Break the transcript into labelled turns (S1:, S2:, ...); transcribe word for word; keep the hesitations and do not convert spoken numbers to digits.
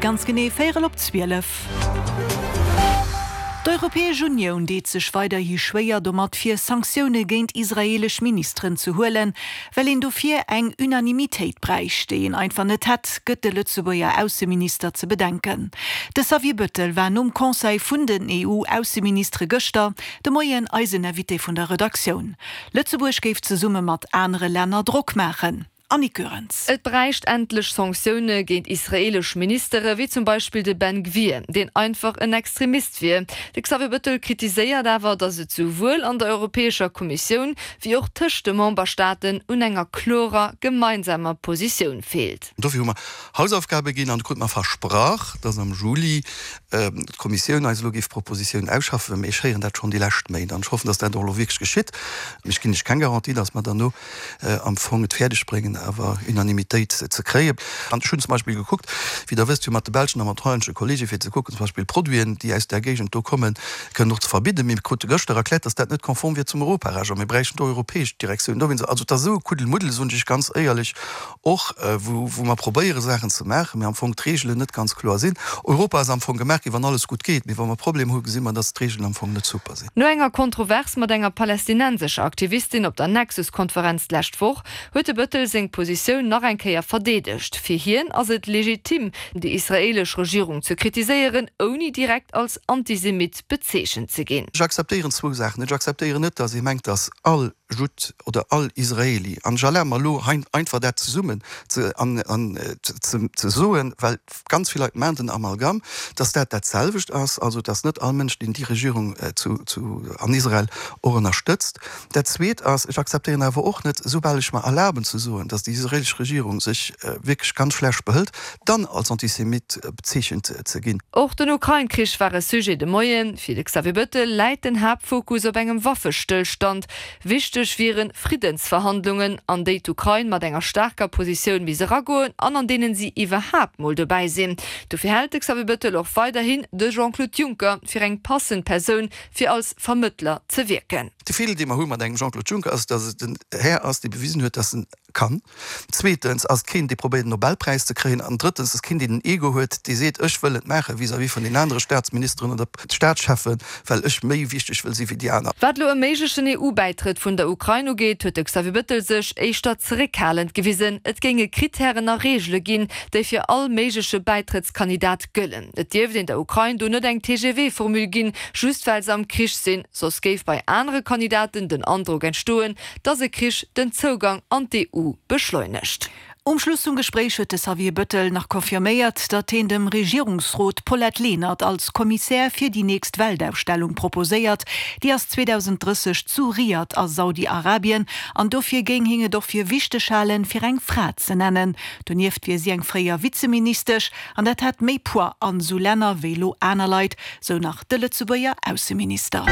S1: ganz genee véierel op zwielef. D'Europäesch Unioun deet sech weiderhi schwéier domat, fir Sanktioune géint israeelesch Ministeren ze huelen, well een dofir eng Unanimitéit bräicht, déi een einfach net hätt, gëtt de Lëtzebuerger Ausseminister ze bedenken. De Xavier Bettel war nom Conseil vun den E U-Ausseministere gëschter de Moien eisen Invité vun der Redaktioun. Lëtzebuerg géif zesumme mat anere Länner Drock maachen. Annick Goerens.
S2: Et bräicht endlech Sanktioune géint israeelesch Ministere wéi zum Beispill de Ben Gvir, deen einfach en Extremist wier. De Xavier Bettel kritiséiert awer, datt et souwuel an der Europäescher Kommissioun wéi och tëscht de Memberstaaten un enger klorer gemeinsamer Positioun feelt.
S3: Dofir hu mer Hausaufgabe ginn an do krute mer versprach, datt am Juli d'Kommissioun eis elo géif Propositiounen ausschaffen. Mee ech héieren dat schonn déi lescht Méint an ech hoffen, datt dat och elo wierklech geschitt. Mee ech ginn lech keng Garantie, datt mer derno am Fong et fäerdeg bréngen, awer Unanimitéit ze kréien. An ech hunn zum Beispill gekuckt, wéi Der wësst, jo mat de belschen a mat hollännesche Kollege fir ze kucken, zum Beispill Produiten, déi aus där Géigend do kommen, kënnen och ze verbidden. Mee mir krute gëschter erkläert, dass dat net konform wier zum Europarecht a mir bräichten do europäesch Direktioun. Dowéinst, also et ass esou e Kuddelmuddel, soen ech Iech ganz éierlech, och wou, wou mer probéiere Saachen ze maachen, mee am Fong d'Reegelen net ganz kloer sinn. Europa ass am Fong gemaach ginn, wann alles gutt geet, mee wa mer Problemer hu gesi mer, dass d'Reegelen am Fong net super sinn.
S2: No enger Kontrovers mat enger palästinensescher Aktivistin op der Nexus-Konferenz d'lescht Woch huet de Bettel seng Positioun nach eng Kéier verdeedegt. Fir hien ass et legitim, déi israeelesch Regierung ze kritiséieren, ouni direkt als Antisemit bezeechent ze ginn.
S3: Ech akzeptéieren zwou Saachen net. Ech akzeptéieren net, datt ee mengt, datt all Judd oder all Israeli, an ech erlabe mer elo hei einfach dat zesummen ze ze soen, well ganz vill Leit maachen den Amalgam, datt dat dat selwecht ass, also datt net all Mënsch, deen déi Regierung zu zu an Israel och ënnerstëtzt. Dat Zweet ass, ech akzeptéieren awer och net, soubal ech mer erlaben ze soen, datt déi israelesch Regierung sech wierklech ganz schlecht behëlt, dann als Antisemit bezeechent ze ginn.
S2: Och den Ukrain-Krich war e Sujet de Moien. Fir de Xavier Bettel läit den Haaptfokus op engem Waffestëllstand. Wichteg wiere Friddensverhandlungen, an déi d'Ukrain mat enger staarker Positioun misst eragoen an an deenen si iwwerhaapt mol dobäi sinn. Dofir hält de Xavier Bettel och weiderhin de Jean-Claude Juncker fir eng passend Persoun, fir als Vermëttler ze wierken.
S3: De Feeler, dee mer hu mat engem Jean-Claude Juncker, ass, datt et en Här ass, dee bewisen huet, datt en kann. Zweetens ass et keen, dee probéiert, en Nobelpräis ze kréien. An drëttens ass keen, deen en Ego huet, dee seet, ech wëll et maachen vis-à-vis vun den anere Staatsministeren oder Staatscheffen, well ech méi wichteg wëll si wéi déi aner.
S2: Wat elo e méiglechen E U-Bäitrëtt vun der Ukrain ugeet, huet de Xavier Bettel sech éischter zeréckhalend gewisen. Et géinge Krittären a Reegele ginn, déi fir all méigleche Bäitrëttskandidat gëllen. Et dierft een der Ukrain do net eng T G V-Formule ginn, just well se am Krich sinn. Soss géif bei anere Kandidaten den Androck entstoen, dass e Krich den Zougang an d'E U beschleunegt.
S1: Um Schluss vum Gespréich huet de Xavier Bettel nach confirméiert, datt hien dem Regierungsrot d'Paulette Lenert als Kommissär fir déi nächst Weltausstellung proposéiert. Déi ass zweedausendrësseg zu Riad a Saudi-Arabien an dofir géing hien et och fir wichteg halen, fir eng Fra ze nennen. Donieft wier si eng fréier Vizeministesch an dat hätt méi Poids an esou Länner wéi elo aner Leit, sou nach de Lëtzebuerger Ausseminister.